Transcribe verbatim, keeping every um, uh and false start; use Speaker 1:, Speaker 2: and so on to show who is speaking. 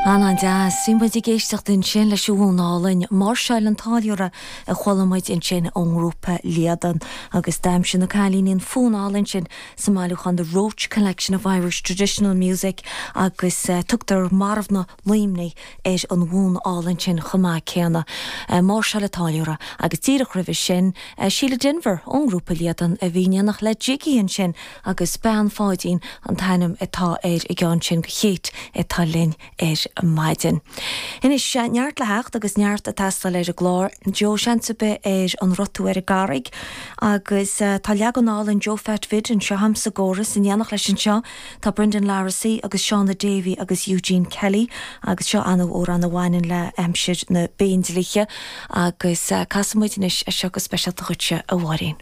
Speaker 1: An-deas, bhí muid ag éisteacht ansin leis an bhfonn álainn Máirseáil an Táilliúra a chuala muid ansin ón ngrúpa Líadan agus d'aimsigh na cailíní an fonn álainn sin sa mbailiúchán The Roche Collection of Irish Traditional Music agus uh, tugtar Marbhna Luimnigh ar an bhfonn álainn sin chomh maith céanna. Uh, Máirseáil an Táilliúra agus díreach roimhe sin uh, Síle Denvir ón ngrúpa Líadan a bhí in éineacht le Jiggy ansin agus Bean Pháidín an t-ainm atá ar an gceann sin go chéit atá linn ar maidin. Anois neart le theacht agus neart ag teastáil ar an gclár, Joe Seansabe ar an rotú ar an gCarraig agus uh, tá leagan álainn Joe Phat Vid anseo agam sa gcóras in éineacht leis anseo tá Brendan Larrissy agus Shauna Davy agus Eugene Kelly agus seo an-amhrán a bhaineann le aimsir na bPéindlíthe agus uh, casfaidh muid anois é seo go speisialta dhuitse a Mháirín.